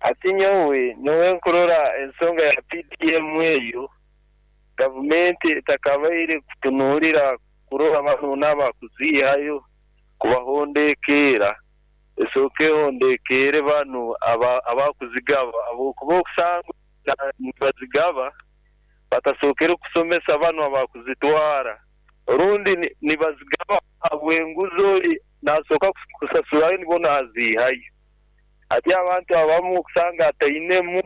Hati nyowe, nyowe nkurora ensonga ya PDM eyo, gavumenti etakabaire kutunuulira kurora banu n'abakuziihayo kubahondekeera, esooke ehondekeere banu abakuzigaba habwokuba okusanga nibazigaba batasookere kusomesa banu abakuzitwara orundi nibazigaba habw'enguzi ori nasooka kusasurayo nibwo naziihayo. Hati abantu abamu okusanga atainemu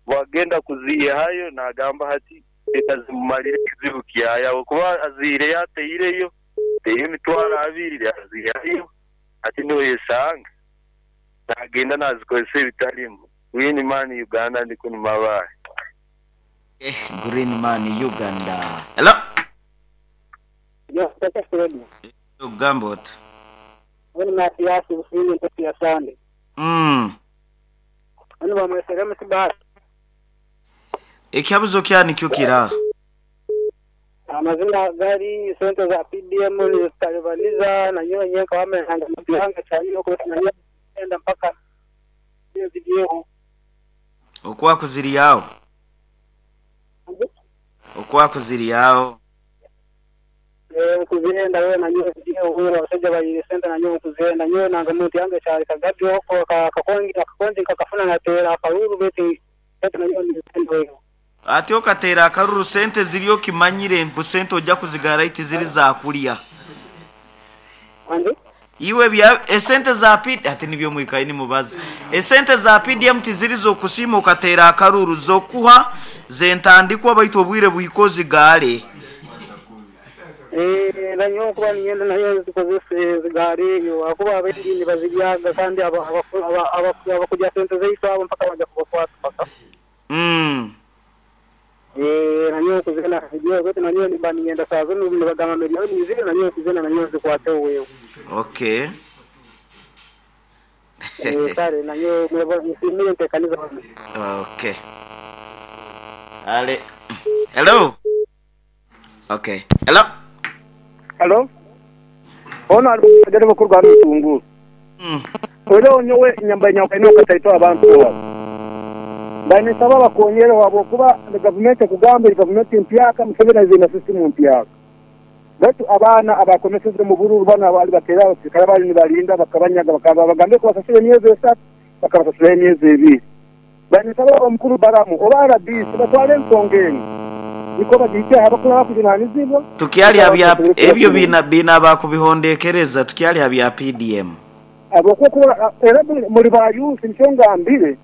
bwagenda kuziihayo nagamba hati leka zimumalire ekizibu kyayo habwokuba aziireyo ataireyo, ataireyo emitwaro abiri aziihayo hati noyesanga nagenda nazikozesa ebitalimu. Green Man Uganda ndi kunu Mabaale. Green Man Uganda. Hello. Yo, Tata Fred. Ogamba ota? Oni Mathias Businge Ntoki ya Sande. Oni bamwesere MC Baasi. Ekihabuzo kya nikyo kira? Amazima gari sente za PDM nizitalibaniza nanyowe nyenka wama nanga mutihanga kyalino kuba nanyowe enda mpaka niyo ziryeho. Okwaku ziri agho. Okwaku ziri agho. Eeh nkuzihenda weena nyowe ziryeho weena abasaija bayiire sente nanyowe nkuzihenda nyowe nanga muntu yange kyali kagabyo akakongi akakongi nkakafuna nateera akaruuru baitu sente nanyowe nizihenda weena. Ati okateera akaruru sente ziri okimanyire mbu sente oja kuzigara aye tiziri za kulya. Wangi? Iwe bya esente za P ati nibyo mwikaire nimubaza. Esente za PDM tiziri z'okusiima okateera akaruru, z'okuha z'entandikwa baitu obwire buhika ozigaale. Eeh nanyowe nkuba niinyenda nayo nzikozese nzigaale eyo ahakuba abaingi nibaziryaga kandi abakurya sente zaitu abo mpaka baija kubakwata paka. Eeh nanyowe kuzina nyowe baitu nanyowe nimba niinyenda saaha zinu nibagamba milioni ibiri nanyowe kuzina nanyowe nzikwateho wewe. Okay. Eeh kare nanyowe mwebale nsiimire enteekaniza hanu. Okay. Ale. Hello. Okay. Hello. Halo. Ono ali mukubagereba okuruga hanu Butungulu. Oihireho nyowe nyambaire nyawukaine kataito abantu abo. Mbaire ninsaba bakonyereho habwokuba gavumenti ekugamba eri gavumenti mpyaka, Museveni aize na sisitimu mpyaka. Baitu abaana abakomeseze omu bururu banu abaali bateire abasirikare abaali nibalinda bakabanyaga bakaba babagambire kubasasura emyezi esatu bakabasasuraho emyezi ebiri. Mbaire ninsaba omukuru Balamu oba rdc batwale ensonga enu nikwo bagihikye aha abakuru abakujunanizibwa Tukyali nikwo ha abantu bya basobole ebyo kubakurungi. biina ba kubihondekereza tukyali ha bya PDM. Habwokuba okurora era muli ba yuusi nikyo ngambire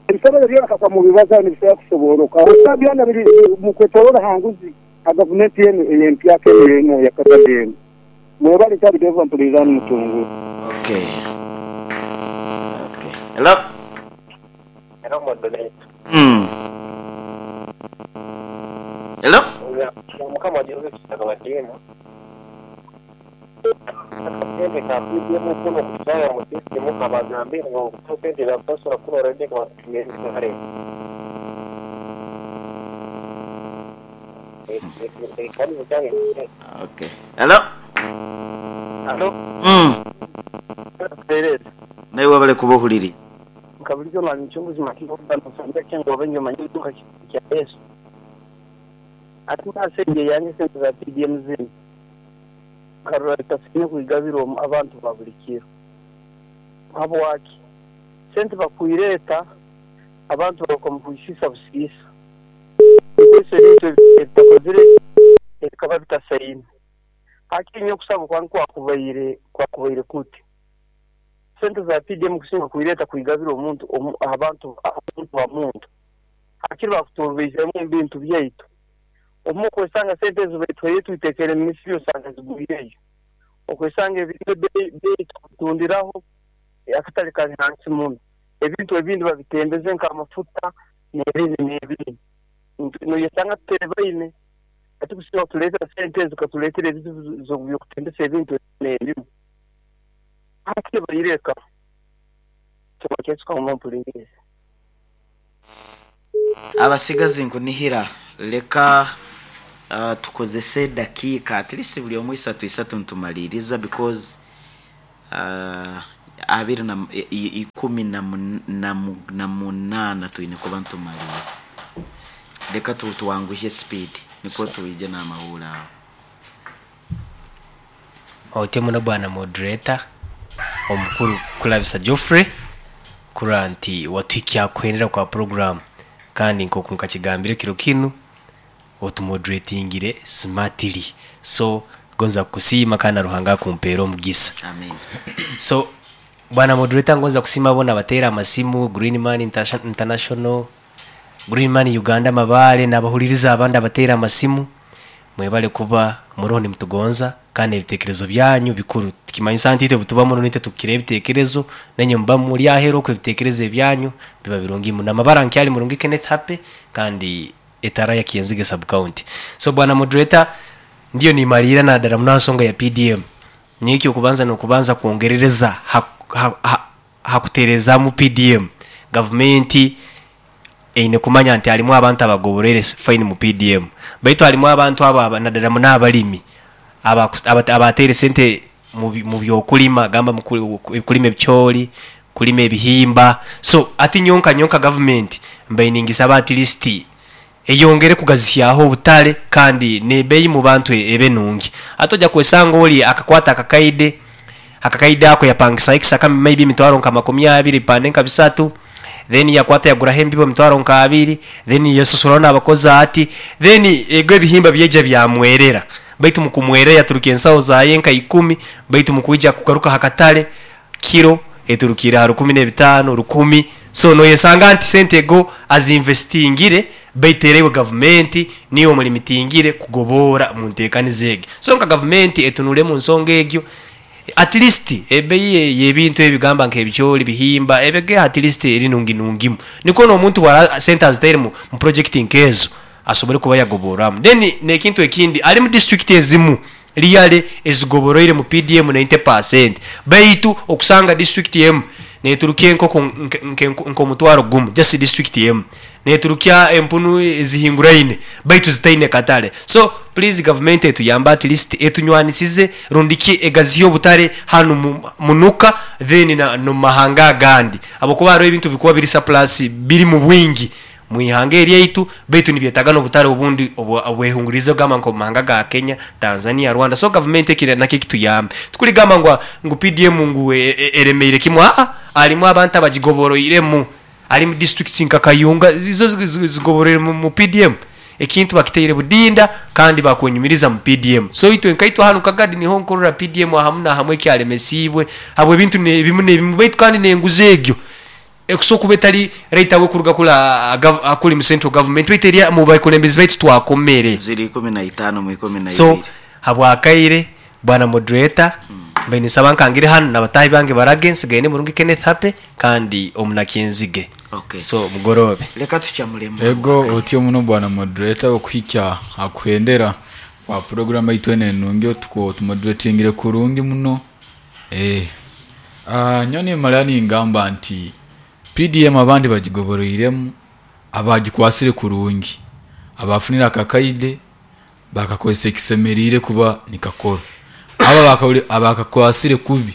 ebisobero byona kakuba mubibazaho nibisobora kusobooroka habwokuba byona biri mukwetoroora ha nguzi ha gavumenti enu ey'empyaka enu enu eya Kagadi enu. Mwebale nkyali Deva mpuliriza hanu Mutunguru. Okay. Okay. Hello. Hello moderator. Hello. Mukama Joseph Kitaka Badiima. Akasente ka PDM kunu kututwara mu system kabagambire ngu sente bakusasura kunu already kabatumire kare. Okay. Hello. Halo. Naiwe webale kuba ohuliriize. Nka bulijo mwami Mucunguzi Makinga okuba nosomera kyengoba enyo omanye oiduka kiti kya Yesu. Ati nase inje yange sente za PDM zinu nkarora zitasaine kwigabirwa abantu ba buli kiro. Habwaki? Sente bakwireta abantu baruka omu kwisiisa busiisa. Nikozesa ebintu ebitakozire ebikaba bitasaine. Hakiri nyowe okusaba kwange kwakubaire kwakubaire kuti, sente za PDM kusinga kwireta kwigabira omuntu abantu omuntu ha muntu, hakiri bakuturubaizeemu omu bintu byaitu. Obumwe okwesanga sente ezo baituhaire twitekeire omu misiri osanga zigwireyo. Okwesanga ebintu ebeeyi tukubitundiraho akatale kali hansi muno. Ebintu ebindi babitembeze nk'amafuta n'ebindi n'ebindi. Noyesanga tuteebaine. Hati kusinga kutuleetera sente ezo zikatuleetera ebizibu by'okutembesa ebintu ebimu. Hati baireka. Kyoka kyekyo mpuliriize. Abasigazi nkunihira leka tukozese edakiika at least buli omu isatu isatu nitumaliiriza because Abiri na ikumi na munaana twine kuba ntumalire. Leka twanguhye speed nikwo twije n'amahuri aho. Otyo muno bwana moderator omukuru Kulabisa Geoffrey, kurora nti watuhikya kuhendera kwa program, kandi nkoku nkakigambire kiro kinu otumoderatingire smartly, so gonza kukusiima kandi na Ruhanga akumpeera omugisa. Amen. So bwana moderator, ngonza kusiima bona abateera amasimu, Green Man International, Green Man Uganda Mabale, n'abahuliriza abandi abateera amasimu, mwebale kuba muroho nimutugonza kandi ebitekerezo byanyu bikuru. Tukimanyisa nti itwe butuba muno nitwe tukira ebitekerezo, nenye muba muri ahero okwo ebitekerezo ebyanyu biba birungi muno. Amabara nkyali murungi Kenneth Happy kandi etara ya Kienzige sub county. So bwana moderator, ndiyo nimalira na dara muno nsonga ya PDM. Nikyo okubanza nokubanza kuongerereza hakuterezamu PDM. Government eine kumanya nti halimu abantu abagoborere fine mu PDM. Baitu halimu abantu aba nadara muno abalimi abatere sente mu byokulima, gamba mu kulima ebikyoli, kulima ebihimba. So ati nyonka nyonka government mbainingisa at least eyongere kugazisyaho obutale kandi nebeyi mu bantu ebe nungi. Atoja kwesanga oli akakwata akakaide ako yapangisa ekisaka maybe mitwaro nka makumi abiri pande nka bisatu, then yakwata yagura hembibo mitwaro nka abiri, then yasusura n'abakozi ati then ego ebihimba byeja byamwerera. Baitu mukumwerera yaturuka ensawo zaye nka 10, baitu mukuija kugaruka hakatale kiro eturukira ha rukumi n'ebitaano, rukumi. So no yesanga nti sente ego azinvestingire baiterewe government niyo mulimitingire kugobora mu nteekaniza ege. So nka government etunule mu nsonga egyo, at least ebeyi y'ebintu ebigamba nk'ebikyoli bihimba ebege at least eri nungi nungimu, niko n'omuntu wara sente azitaire mu project nkezo asobole kuba yagoboramu. Then nekintu ekindi ali mu district ezimu liyale ezigoboroire mu PDM 90%, baitu okusanga district emu neturukia enkoko nk'omutwaro gumu, just district emu neturukia empunu ezihinguraine baitu zitaine katale. So please government etuyamba at least etunywanisize rundiki egaziyo obutale hanu munuka then no mahanga agandi, abakuba hariho ebintu bikuba biri surplus biri mu bwingi mwihanga eryaitu, baitu nibyetaga n'obutale obundi obwehungurize ogamba nko mahanga ga Kenya, Tanzania, Rwanda. So government ekire nakyo kituyambe. Tukuligamba ngu PDM ngu eremeire kimwe, alimu abantu abagigoboroiremu, ali mu districts nka Kayunga izo zigoboroire mu PDM. Ekintu bakiteire budinda kandi bakwenyumiriza mu PDM. So itwe nkaitwa hanu Kagadi niho nkorora PDM ahamu na hamwe kyalemesibwe habwe ebintu nebimu nebimu, baitu kandi nenguze egyo ekusoka kuba etali right awe kuruga kula akuli mu central government baitu eri mu bakulembezi baitu twakomere ziri 15 mu 12. So habwakaire bwana moderator, mbe nisaba nkangire hano nabatahi bange barage nsigaye ni murungi Kenneth Happy kandi omunakinzige. Okay. So mugorobe leka tukyamulemu ego otyo muno bwana moderator okuhikya akuhendera kwa program yaitu eno enungi otuko tumoderatingire kurungi muno. Nyoni mala ningamba nti PDM abandi bagigoboroiremu abagikwasire kurungi abafunira akakaide bakakozesa ekisemerire kuba nikakora, aba abakakwasire kubi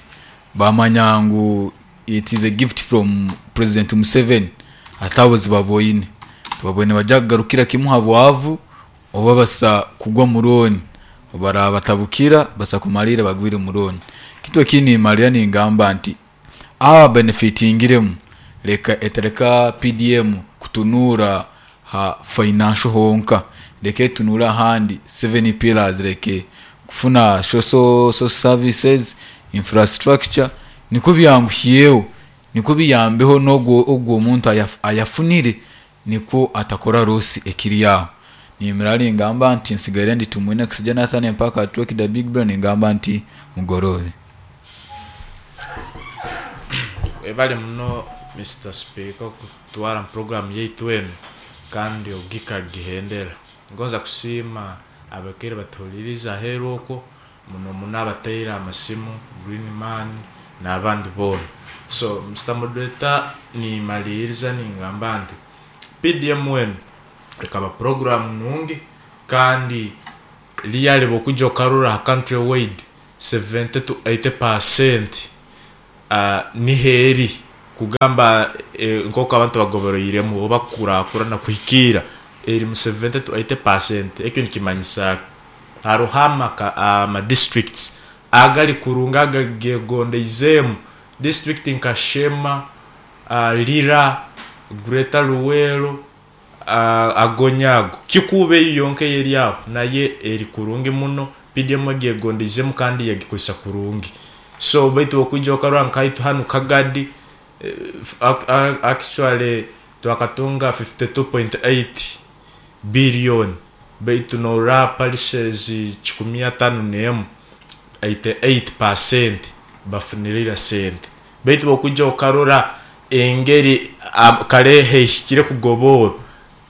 bamanya ngu it is a gift from President Museveni atabozi baboine tubabone bajya kugarukira kimu habwavu oba basa kugwa muroni obara batabukira basa kumalira bagwire muroni. Kitu ekini malia ningamba nti aba benefitingiremu leka etereka PDM kutunura ha financial honka, leka etunura handi 7 pillars, leke kufuna social services infrastructure niko byanguhiyeho niko biyambeho nogwo ogwo omuntu ayafunire niko atakora rosi ekiri yaho. Nimirali ngamba nti nsigaire ndi tumwine kusija Nathan mpaka atuwe the big brain ngamba nti mugorobe. Ebale muno Mr. Speaker kutwara program yaitu eno kandi ogika gihendera. Ngonza kusiima abakere batuliriza aheru okwo muno muno abateera amasimu Green Man n'abandi bona. So Mr. Moderator ni maliriza ningamba nti PDM wenu ekaba program nungi kandi liyale bokuja okarura country wide 70 to 80% Niho eri kugamba nk'oku abantu bagoboroiremu oba kukurakurana kuhikiira eri mu 70 to 80 percent. Ekyo nikimanyisa ki? Haroho ama districts agali kurungi agagegondeizeemu. District nka Sheema, Lira, Greater Luweero, Agonya ago. Kikuubo eyo yonka eyeri aho nayo eri kurungi muno, PDM egyegondeizemu kandi yagikozesa kurungi. So baitu okwija okarora nkaitwe hanu Kagadi, actually twakatunga 52.8 billion baitu norora parishes kikumi atano nemu, 88% bafunire ira sente. Baitu okwija okarora engeri kare heihikire kugoboorwa,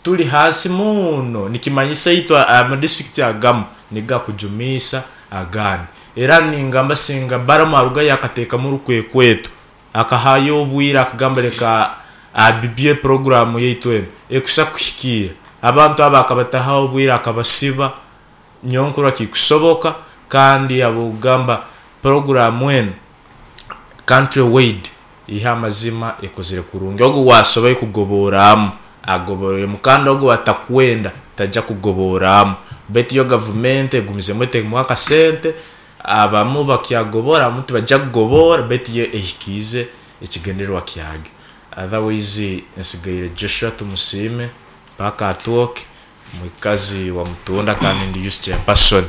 turi hansi muno. Nikimanyisa itwe amadistrict agamu nigakujumiisa agandi. Era ningamba singa Balamu arugayo akateekamu orukwekweto, akahayo obwire akagamba leka abibye puroguramu yaitu enu ekusa kuhikiira. Abantu abo akabataho obwire akabasiba, nyowe nkurora kikusoboka kandi habw'okugamba puroguramu enu country wide ihe amazima ekozire kurungi. Ogu owaasoboire kugobooraamu agoboroiremu kandi ogu owatakwenda taija kugobooraamu. Baitu yo gavumenti egumizemu etemu akasente, abamu bakyagobora abamu tibaija kugoboora baitu yo ehikiize ekigendererwa kyagyo. Otherwise nsigaire Joshua Tumusiime mpaka atwoke mwikazi wa Mutunda kandi ndi youth chairperson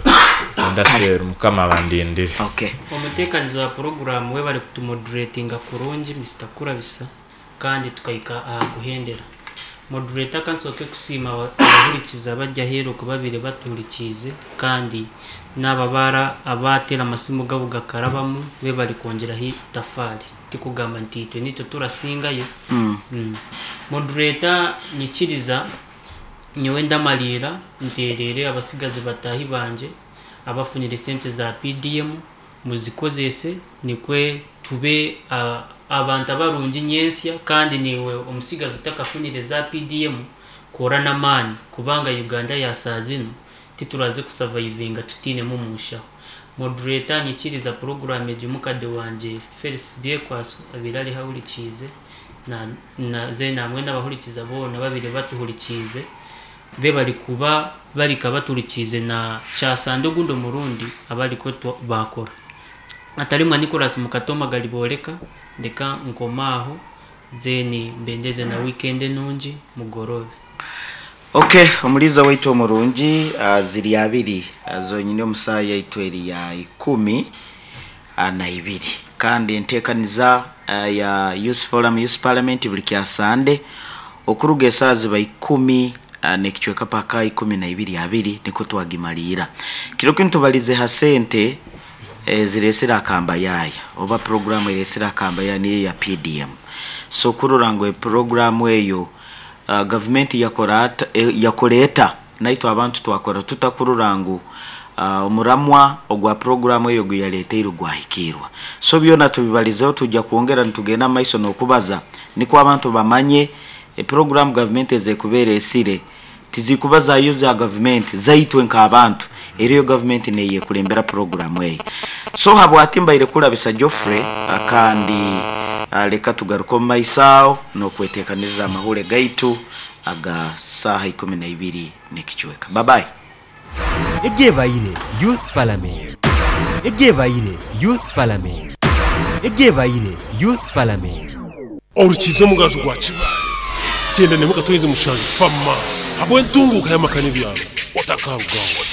Mutunda cell. Mukama abandindire. Okay. Omuteekaniza wa puroguraamu webare kutumoduretinga kurungi Mister Kurabisa kandi tukahika aha kuhendera. Moderator kansooke kusiima abahurikiza abari aheeru oku babaire batuhurikiize kandi naabo abaara abaateera amasimu gaabo gakarabamu webare kwongyeraho itafaari. Tikugamba nti itwe nitwe turasingayo. Moderator nyikiriza nyowe ndamariira ntereere abasigazi bataahi bangye abafunire sente za PDM muzikozese nikwe tube abantu abarungi nyentsya kandi naiwe omutsigazi otakafunire za PDM kora n'amaani kubanga Uganda ya saaha zinu tituraze kusavaivinga tutainemu omunshaho. Moderator nyikiriza puroguraamu egi mukade wangye Felix Byekwaso abaire ariho ahurikiize na then hamwe n'abahurikiza boona ababaire batuhurikiize bebare kuba barika batuhurikiize na kyasande ogundi omurundi abariko baakora. Atarimwa Nicholas Mukatoma Garibooreka ndeka nkome aho then mbendeze na weekend enungi mugoroobe. Ok, omuliiza waitu omurungi, ziri abiri zonyini omu saaha yaitu eri ya ikumi na ibiri. Kandi enteekaniza ya Youth Forum Youth Parliament buri kya Sande okuruga esaaha ziba ikumi n'ekicweka paka ikumi na ibiri abiri nikwo twagimariira. Kiro kinu tubalize ha sente ezireesire akambayaaya oba puroguraamu ereesire akambayaaya niyo eya PDM. So kurora ngu epuroguraamu eyo gavumenti yakora yakora eta naitwe abantu twakora tuta kurora ngu omuramwa ogwa puroguraamu eyo oguyareeteire gwahikiirwa. So byona tubibalizeho twija kwongera nitugenda omu maiso n'okubaza nikwo abantu bamanye epuroguraamu gavumenti ez'ekuba ereesire tizikuba zayo za gavumenti zaitwe nk'abantu eriyo gavumenti neyekulembera puroguraamu eyo. So habwati mbaire kurabisa Geoffrey kandi leka tugaruke omu maiso aho n'okweteekaniriza amahure gaitu aga saaha ikumi na ibiri n'ekicweka. Bye bye. Egyebaire Youth Parliament Egyebaire Youth Parliament Egyebaire Youth Parliament. Orukiize omugaju gwa Kibaale, Kyenda n'emwe Katwenze Mushanju Fama habw'entunguuka y'amaka n'ebyaro otakarugaho.